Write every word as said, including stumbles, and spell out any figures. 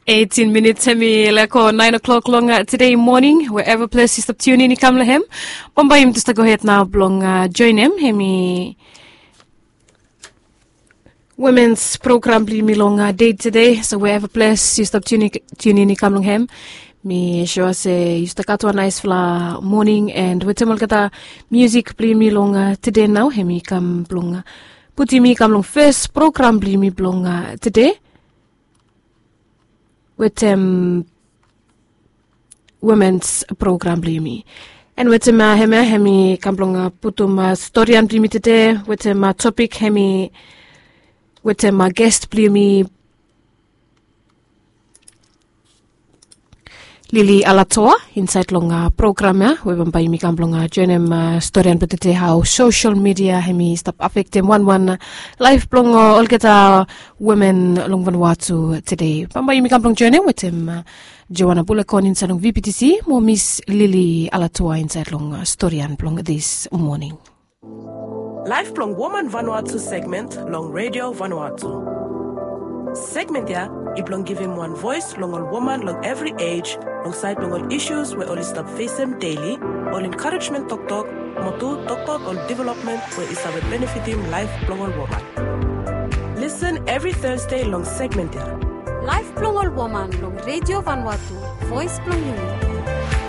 Eighteen minits hemi leko nine o'clock long tede moning, wherever ples yu stap tiunin i kam long hem. Bambae yumi tu stap gohed nao blong joenem hemi womens program blong yumi long dei tede. So wherever ples yu stap tiunin i kam long hem, mi sua se yu stap gat wan naispela moning, and wetem olgeta musik blong yumi long tede nao hemi kam blong putum yumi kam long fes program blong yumi blong tede, wetem womens program blong yumi. And wetem hemia hemi kam blong putum storian blong yumi tede, wetem topik hemi wetem gest blong yumi, Lili Alatoa, insaed long program ya we bambae yumi kam blong joenem storian blong tede, hao sosel midia hemi stap afektem wanwan laef blong olgeta women long Vanuatu tede. Bambae yumi kam blong joenem wetem Joana Bulekon insaed long V P T C mo Miss Lili Alatoa insaed long storian blong this morning. Laef blong Woman Vanuatu segment long Radio Vanuatu. Segment ya i blong givim wan voes long ol woman long evri ej, long saed blong ol isus we oli stap fesem deli, ol enkarejmen toktok, mo tu toktok ol developmen we i save benefitim laef blong ol woman. Lisen evri Thursday long segment ya. Laef blong ol woman long Radio Vanuatu, voes blong yumi.